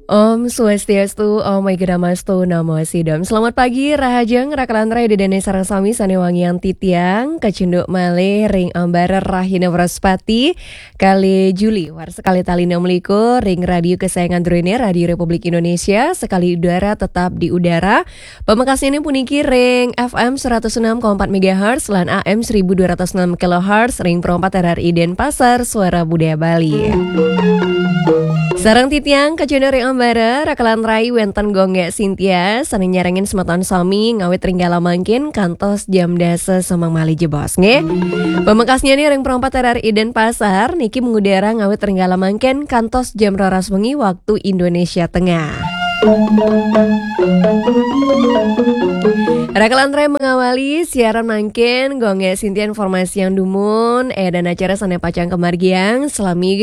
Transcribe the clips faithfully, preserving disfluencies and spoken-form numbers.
Om Swastiastu, Om Awighnamastu, Namo Siddham. Selamat pagi, rahajeng, rakalan rai, Ida dané sareng sami sané wangiang titiang, kacunduk malih ring ambara rahina Wraspati, kalih Juli, warsa kalih tali enam likur, ring radio kesayangan druéné, Radio Republik Indonesia, sekali udara tetap di udara, pamekasnyané puniki ring F M seratus enam koma empat megahertz lan A M seribu dua ratus enam kilohertz ring Pro empat R R I Denpasar, Suara Budaya Bali. Sareng titiang kacunduk ring ambara, rakalan rai, wénten Gung Gék Sintia, sané nyarengin semeton sami ngawit ring kala mangkin kantos jam dasa semeng malih jebos, nggih. Pamekasnyané ring Pro empat R R I Denpasar, niki mengudara ngawit ring kala mangkin kantos jam roras wengi waktu Indonesia Tengah. Rakalan rai, mengawali siaran mangkin, Gung Gék Sintia informasiang dumun, édan acara sané pacang kamargiang, salami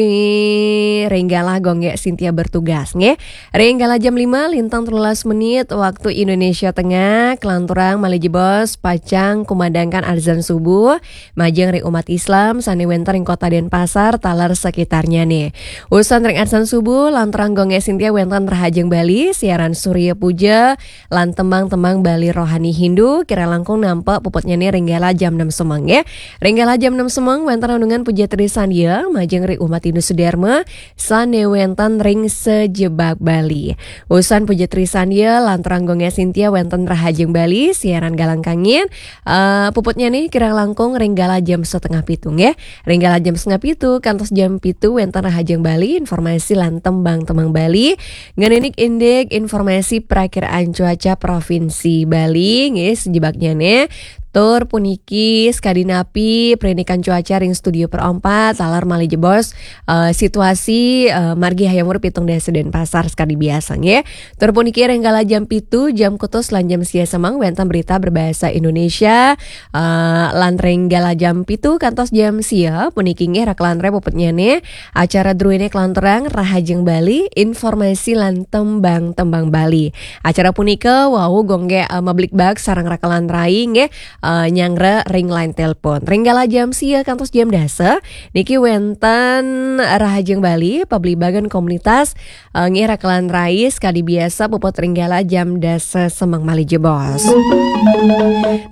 ring kala Gung Gék Sintia bertugas, nggih. Ring kala jam lima lintang telulas menit waktu Indonesia Tengah, kalanturang malih jebos pacang kumandangkan adzan subuh, majeng ring umat Islam sané wénten ring Kota Denpasar taler sekitarnyané. Usan ring adzan subuh, lanturang Gung Gék Sintia wénten Rahajeng Bali, siaran Surya Puja, lan tembang-tembang Bali rohani Hindu, kirang langkung nampek puputnyané ring kala jam enam semeng, nggih. Ring kala jam enam semeng, wénten renungan Puja Trisandya, majeng ring umat Hindu sedharma, sané wénten ring sajebag Bali. Usan Puja Trisandya, lanturang Gung Gék Sintia wénten Rahajeng Bali, siaran Galang Kangin, eh, puputnyané kirang langkung ring kala jam setengah pitu, nggih. Ring kala jam setengah pitu, kantos jam pitu wénten Rahajeng Bali, informasi lan tembang-tembang Bali. Ngenénin indik informasi prakiraan cuaca Provinsi Bali, nggih, sajebagnya, nggih. Tur puniki sakadi napi perinikan cuaca ring studio Pro empat, taler malih jebos, eh, situasi, eh, margi hayam wuru pitung dasa Denpasar sakadi biasa, nggih. Tur puniki ring kala jam pitu, jam kutus lan jam sia semeng wénten berita berbahasa Indonesia, eh, lan ring kala jam pitu kantos jam sia, puniki nggih rakalan rai puputnyané acara druéné kalanturang Rahajeng Bali, informasi lan tembang-tembang Bali. Acara punika wau Gung Gék, eh, mabligbagan sareng rakalan rai nggih, eh, nyanggra ring line telepon. Ring kala jam sia kantos jam dasa, niki wénten Rahajeng Bali, pabligbagan komunitas, eh, nggih rakalan rai, sakadi biasa puput ring kala jam dasa semeng malih jebos.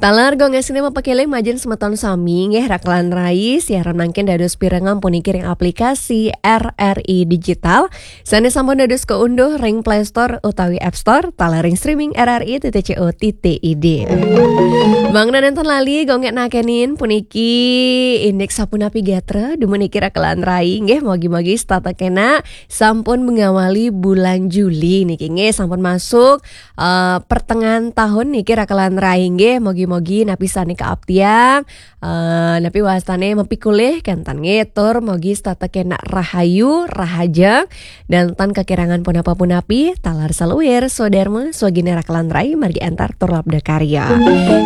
Taler Gung Gék Sintia mapakéling majeng semeton sami nggih rakalan rai, siaran mangkin dados pirengang puniki ring aplikasi R R I Digital, sané sampun dados kaunduh ring Play Store utawi App Store, taler ring streaming R R I titik C O titik I D. Mangda nénten lali Gung Gék nakénin puniki indik sapunapi gatra dumun niki rakalan rai nggih, mugi-mugi setata kénak sampun mengawali bulan Juli niki nggih, sampun masuk, eh, pertengahan tahun niki rakalan rai nggih, mugi-mugi napi sané kaaptiang, eh, napi wastané mapikolih kénten nggih, tur mugi setata kénak rahayu, rahajeng, dan tan kakirangan punapa-punapi, taler saluir, swadarma, swaginé rakalan rai, margi antar tur labda karya.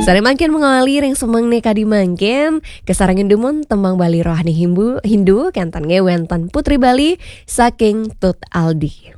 Sané mangkin mengawali ring semengné kadi mangkin, kasarengin dumun tembang Bali rohani Himbu-, Hindu, kénten nggih wénten Putri Bali saking Tut Aldi.